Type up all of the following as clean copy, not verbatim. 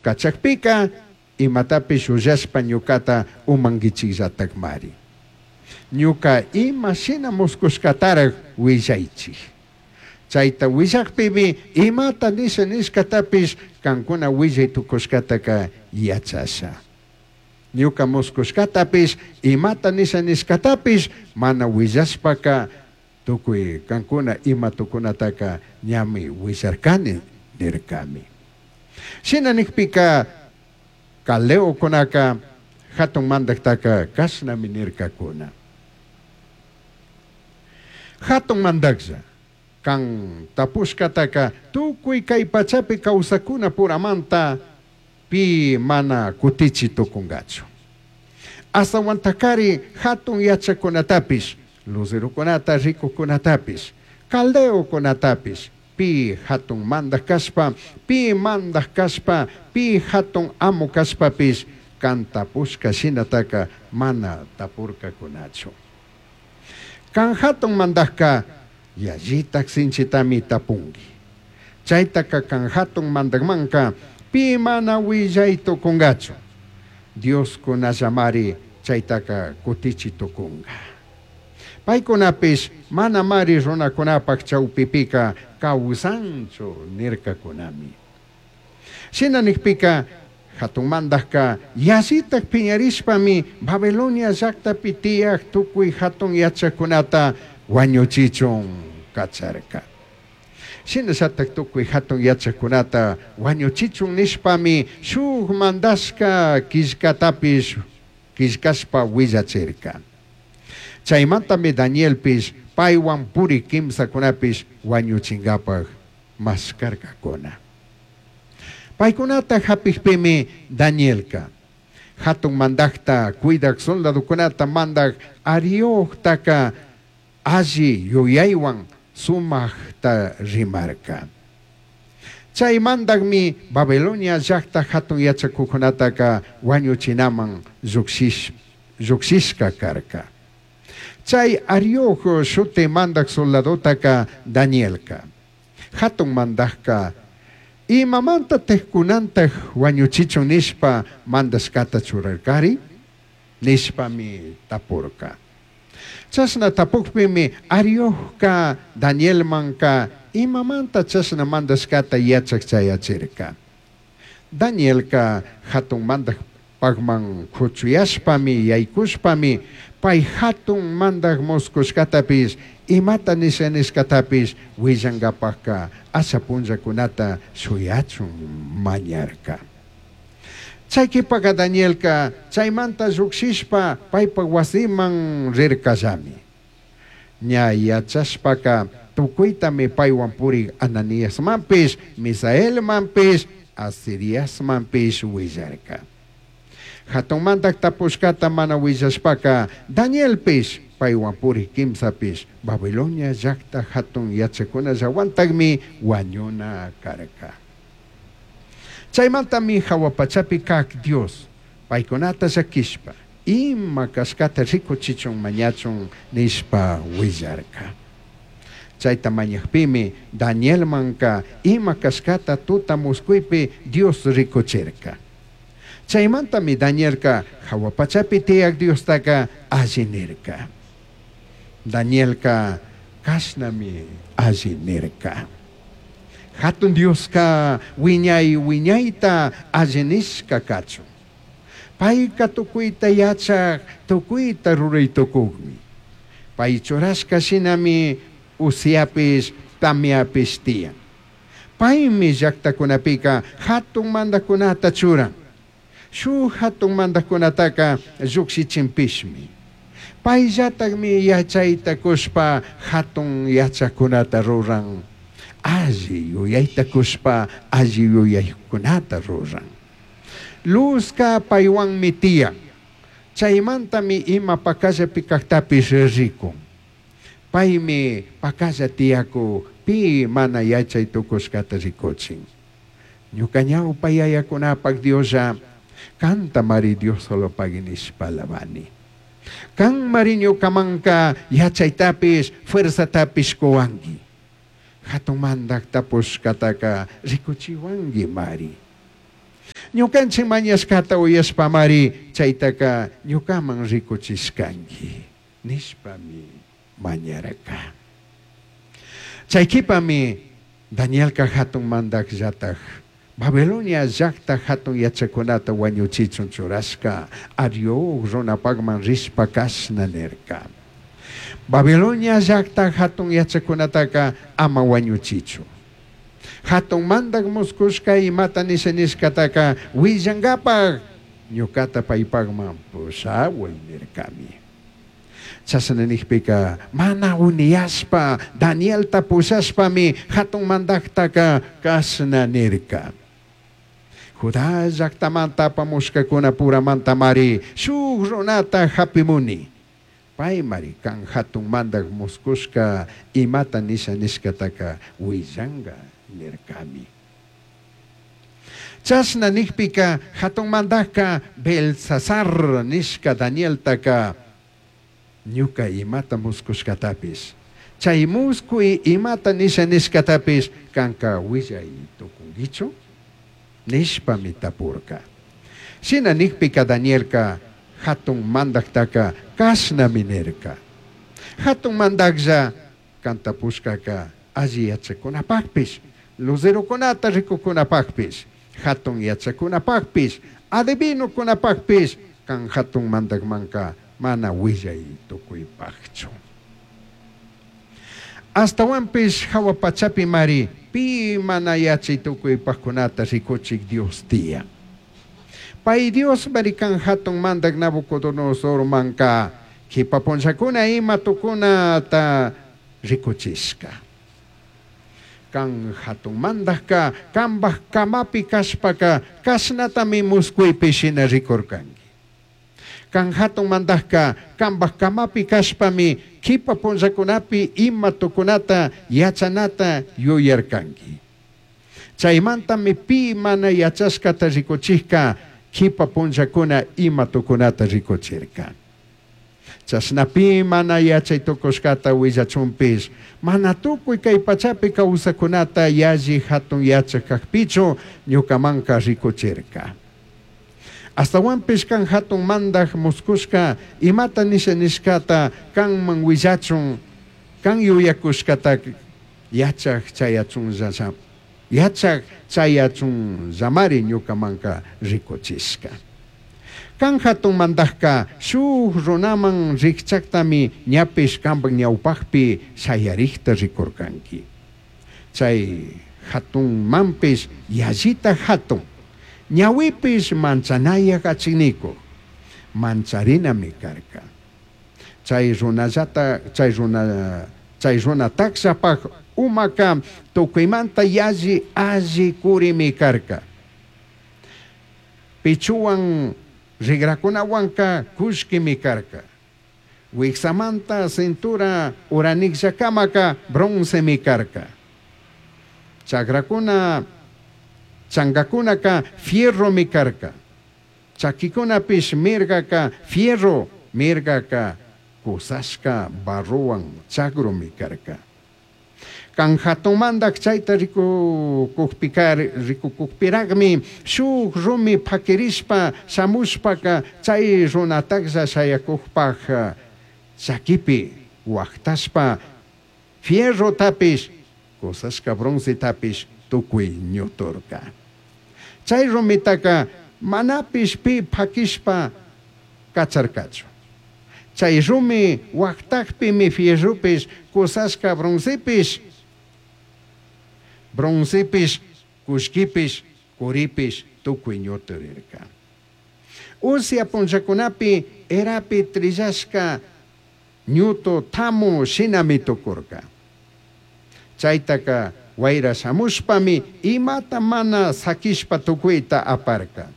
Cachajpica, imatapish llullashpa ñucata umanguichijllatajmari. Ñuca ima shina muscushcataraj huillaichij. Chaita huillajpimi imata nisha nishcatapish cancuna huillai tucushcataca yachasha. Ñuca muscushcatapish, imata nisha nishcatapish mana huillashpaca tucui cancuna ima tucunataca ñami huillarcani nircami. Shina nijpica caldeocunaca jatun mandajtaca cashnami nircacuna. Jatun mandajlla, can tapushcataca tucui cai pachapi causaccunapuramanta pi mana cutichi tucungachu. Ashtahuantacari jatun yachajcunatapish, luzerocunata ricujcunatapish, caldeocunatapish, pi jatun mandaj cashpa, pi mandaj cashpa, pi jatun amo cashpapish can tapushca shinataca mana tapurcacunachu. Can jatun mandajca yallitaj sinchitami tapungui. Chaitaca can jatun mandajmanca pi mana huillai tucungachu. Dioscunallamari chaitaca cutichi tucunga. Paicunapish manamari runacunapaj chaupipica causanchu nircacunami. Shina nijpica jatun mandajca yallitaj piñarishpami Babilonia llajtapi tiyaj tucui jatun yachajcunata huañuchichun cacharca. Shinallataj tucui jatun yachajcunata huañuchichun nishpami shuj mandashca quillcatapish quillcashpa huillachirca. Chaimantami Danielpish paihuan purij quimsacunapish huañuchingapaj mashcarcacuna. Paicunata japijpimi Danielca jatun mandajta cuidaj soldadocunata mandaj Ariojtaca alli yuyaihuan sumajta rimarca. Chai mandajmi Babilonia llajta jatun yachacujcunataca huañuchinaman llujshishca carca. Chai Arioj shuti mandaj soldadotaca Danielca, jatun mandajca imamantataj cunantaj huañuchichun nishpa mandashcata churarcari? Nishpami tapurca. Chashna tapujpimi Ariojca Danielmanca imamanta chashna mandashcata yachaj chayachirca. Danielca jatun mandajpajman cuchuyashpami yaicushpami pai jatun mandaj muscushcatapish imata nisha nishcatapish huillangapajca asha punllacunata shuyachun mañarca. Chai q'uipaca Danielca chaimanta llujshishpa paipaj huasiman rircallami. Ña yachashpaca tucuitami paihuan purij Ananiasmanpish, Misaelmanpish, Azariasmanpish huillarca. Jatun mandaj tapushcata mana huillashpaca Danielpish, paihuan purij quimsapish Babilonia llajta jatun yachajcunallahuantajmi huañuna carca. Chaimantami jahua pachapi caj Dios paicunata llaquishpa, ima cashcata ricuchichun mañachun nishpa huillarca. Chaita mañajpimi Danielmanca ima cashcata tuta muscuipi Dios ricuchirca. Chaimantami Danielca jahua pachapi tiyaj Diostaca alli nirca. Danielca cashnami alli nirca. Jatun Diosca huiñai huiñaita alli nishca cachun. Paica tucuita yachaj, tucuita rurai tucujmi. Pai churashca shinami usiapish, tamiapish tiyan. Paimi llajtacunapica jatun mandajcunata churan. Shuj jatun mandajcunataca llujshichinpishmi. Paillatajmi yachaita cushpa jatun yachajcunata ruran. Alli yuyaita cushpa alli yuyaicunata ruran. Luzca paihuanmi tiyan. Chaimantami ima pacallapi cajtapish ricun. Paimi pacalla tiyacuj pi mana yachai tucushcata ricuchin. Ñuca ñaupa yayacunapaj Dioslla, cantamari Diosolopagui nishpa alabani. Canmari ñucamanca yachaitapish, fuerzatapish cuhuangui. Jatun mandaj tapushcataca ricuchihuanguimari. Ñucanchij mañashcata uyashpamari chaitaca ñucaman ricuchishcangui nishpami mañarca. Chai q'uipami Danielca jatun mandajllataj Babilonia llajta jatun yachajcunata huañuchichun churashca Arioc runapajman rishpa cashna nirca: Babilonia llajta jatun yachajcunataca ama huañuchichu. Jatun mandaj muscushca imata nisha nishcataca huillangapaj ñucata paipajman pushahuai nircami. Chashna nijpica mana uniyashpa Danielta pushashpami jatun mandajtaca cashna nirca: Judá llajtamanta apamushcacunapuramantamari shuj runata japimuni. Paimari can jatun mandaj muscushca imata nisha nishcataca huillanga nircami. Chashna nijpica jatun mandajca Beltsasar nishca Danieltaca ñuca imata muscushcatapish, chai muscui imata nisha nishcatapish canca huillai tucunguichu? nishpami tapurca. Shina nijpica Danielca jatun mandajtaca cashnami nirca: Jatun mandajlla, can tapushcaca alli yachajcunapajpish, luzerocunata ricucunapajpish, jatun yachajcunapajpish, adivinocunapajpish can jatun mandajmanca mana huillai tucuipajchu. Ashtahuanpish jahua pachapimari pi mana yachai tucuipajcunata ricuchij Dios tiyan. Pai Diosmari can jatun mandaj Nabucodonosormanca q'uipa punllacuna ima tucunata ricuchishca. Can jatun mandajca cambaj camapi cashpaca cashnatami muscuipi shina ricurcangui. Can jatun mandajca cambaj camapi cashpami q'uipa punllacunapi ima tucunata yachanata yuyarcangui. Chaimantami pi mana yachashcata ricuchijca q'uipa punllacuna ima tucunata ricuchirca. Chashna pi mana yachai tucushcata huillachunpish, mana tucui cai pachapi causajcunata yalli jatun yachaj cajpichu ñucamanca ricuchirca. Ashtahuanpish can jatun mandaj muscushca imata nisha nishcata canman huillachun, can yuyacushcata yachaj chayachunlla yachaj chayachunllamari ñucamanca ricuchishca. Can jatun mandajca shuj runaman rijchajtami ñapish cambaj ñaupajpi shayarijta ricurcangui. Chai jatunmanpish yallita jatun, ñahuipish manchanayaj achijnicuj, mancharinami carca. Chai runallata chai runa chai runa tajshapaj umaca tucuimanta yalli alli curimi carca. Pechohuan rigracunahuanca cullquimi carca. Huijsamanta cintura uranijllacamaca broncemi carca. Chagracuna changacunaca fierromi carca. Chaquicunapish mirgaca fierro, mirgaca cusashca barrohuan chagrumi carca. Can jatun mandaj chaita ricucujpirajmi shuj rumi paquirishpa shamushpaca chai runatajlla shayacujpaj chaquipi huajtashpa fierrotapish, cusashca broncetapish tucui ñuturca. Chai rumitaca manapish pi paquishpa cacharcachu. Chai rumi huajtajpimi fierropish, cusashca broncepish, broncepish, cullquipish, curipish tucui ñuturirca. Usia punllacunapi erapi trillashca ñutu tamu shinami tucurca. Chaitaca huaira shamushpami imata mana saquishpa tucuita aparca.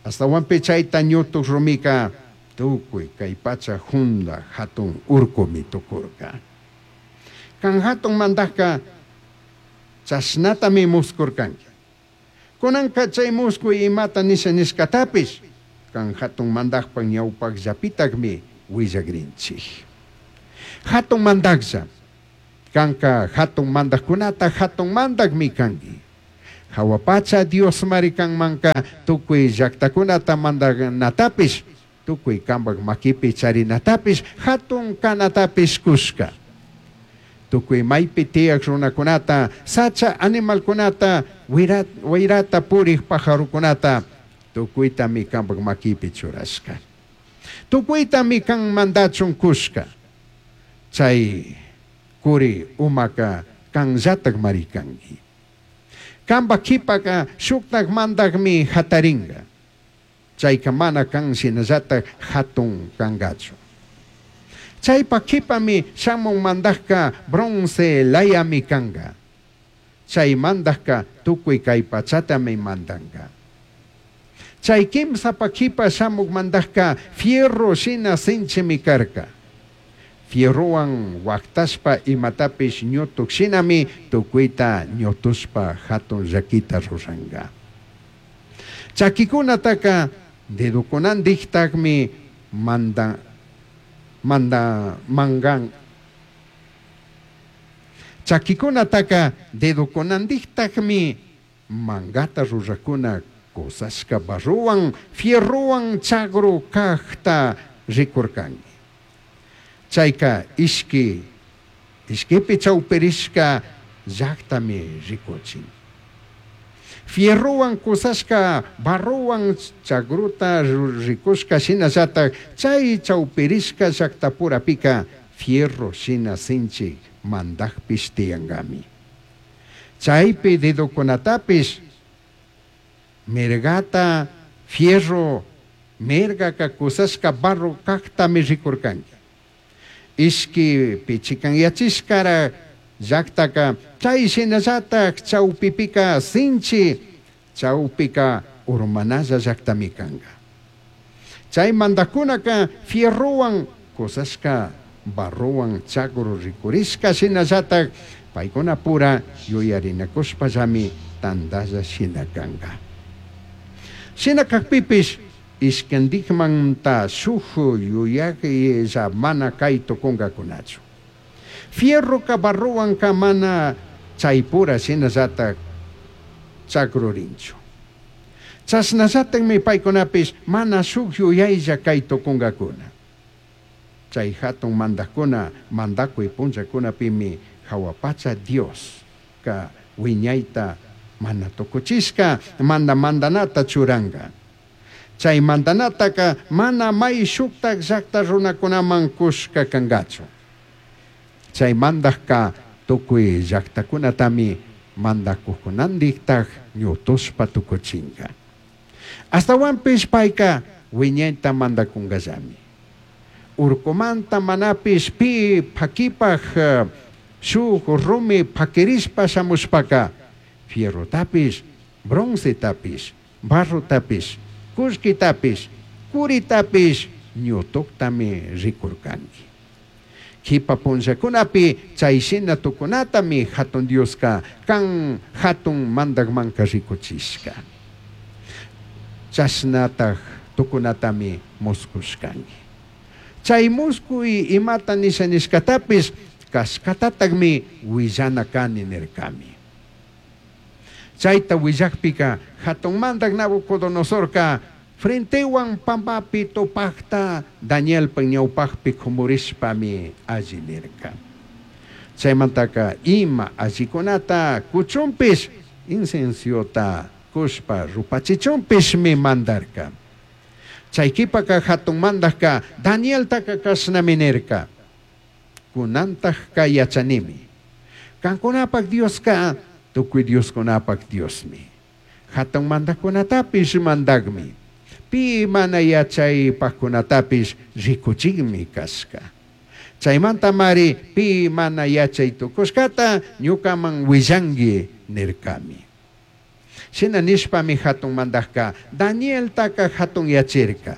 Ashtahuanpish chaita ñutuj rumica tucui cai pacha junda jatun urcumi tucurca. Can jatun mandajca chashnatami muscurcangui. Cunanca chai muscui imata nisha nishcatapish can jatun mandajpaj ñaupajllapitajmi huillagrinchij. Jatun mandajlla, canca jatun mandajcunata jatun mandajmi cangui. Jahua pacha Diosmari canmanca tucui llajtacunata mandanatapish, tucui cambaj maquipi charinatapish, jatun canatapish cushca. Tucui maipi tiyaj runacunata, sacha animalcunata, huairata purij pajarocunata, tucuitami cambaj maquipi churashca. Tucuitami can mandachun cushca. Chai curi umaca canllatajmari cangui. Cambaj quipaca shujtaj mandajmi jataringa. Chaica mana can shinallataj jatun cangachu. Chaipaj quipami shamuj mandajca bronce layami canga. Chai mandajca tucui cai pachatami mandanga. Chai quimsapaj quipa shamuj mandajca fierro shina sinchimi carca. Fierrohuan huajtashpa imatapish ñutuj shinami tucuita ñutushpa jatun llaquita ruranga. Chaquicunataca dedocunandijtajmi manda, manda, mangan. Chaquicunataca dedocunandijtajmi mangata rurajcuna cusashca barrohuan, fierrohuan chagru cajta ricurcangui. Chaica ishqui, ishquipi chaupirishca llajtami ricuchin. Fierrohuan cusashca barrohuan chagruta ricushca shinallataj chai chaupirishca llajtapurapica fierro shina sinchi mandajpish tiyangami. Chaipi dedocunatapish mirgata fierro mirgaca cusashca barro cajtami ricurcangui. Ishquipi chicanyachishcara llajtaca chai shinallataj chaupipika sinchi chaupika urmanalla llajtami canga. Chai mandajcunaca fierrohuan cusashca barrohuan chagru ricurishca shinallataj paicunapura yuyarinacushpallami tandalla shina canga. Shina cajpipish ishquindijmanta shuj yuyajlla mana cai tucungacunachu. Fierroca barrohuanca mana chaipura shinallataj chagrurinchu. Chashnallatajmi paicunapish mana shuj yuyaylla cai tucungacuna. Chai jatun mandajcuna mandacui punllacunapimi jahua pacha Diosca huiñaita mana tucuchishca manda mandanata churanga. Chai mandanataca mana mai shujtaj llajta runacunaman cushca cangachu. Chai mandajca tucui llajtacunatami mandacujcunandijtaj ñutushpa tucuchinga. Ashtahuanpish paica huiñaita mandacungallami. Urcumanta manapish pi paquipaj shuj rumi paquirishpa shamushpaca fierrotapish, broncetapish, barrotapish, cullquitapish, curitapish ñutujtami ricurcangui. Quipa punllacunapi chai shina tucunatami jatun Diosca can jatun mandajmanca ricuchishca. Chashnataj tucunatami muscushcangui. Chai muscui imata nisha nishcatapish cashcatatajmi huillana cani nircami. Chaita huillajpica jatun mandaj Nabucodonosorca frentehuan pambapi tupajta Danielpaj ñaupajpi cumurishpami alli nirca. Chaimantaca ima allicunata cuchunpish inciensiota cushpa rupachichunpishmi mandarca. Chai quipaca jatun mandajca Danieltaca cashnami nirca. Cunantajca yachanimi. Cancunapaj Diosca tucui Dioscunapaj Diosmi. Jatun mandajcunatapish mandajmi. Pi mana yachaipajcunatapish ricuchijmi cashca. Chaimantamari pi mana yachai tucushcata ñucaman huillangui nircami. Shina nishpami jatun mandajca Danieltaca jatunyachirca.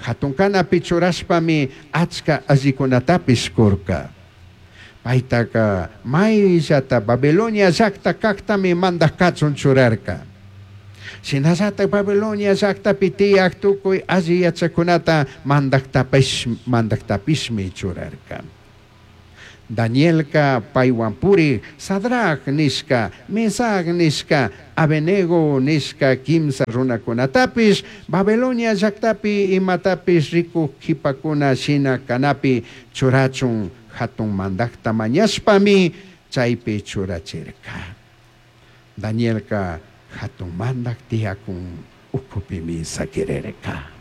Jatun canapi churashpami achca allicunatapish curca. Paitaca maillata Babilonia llajta cajtami mandaj cachun churarca. Shinallataj Babilonia llajtapi tiyaj tucui alli yachajcunata mandajtapish, mandajtapishmi churarca. Danielca paihuan purij Sadrac nishca, Mesac nishca, Abednego nishca quimsa runacunatapish Babilonia llajtapi imatapish ricuj quipacuna shina canapi churachun jatun mandajta mañashpami chaipi churachirca. Danielca jatun mandaj tiyacun ucupimi saquirirca.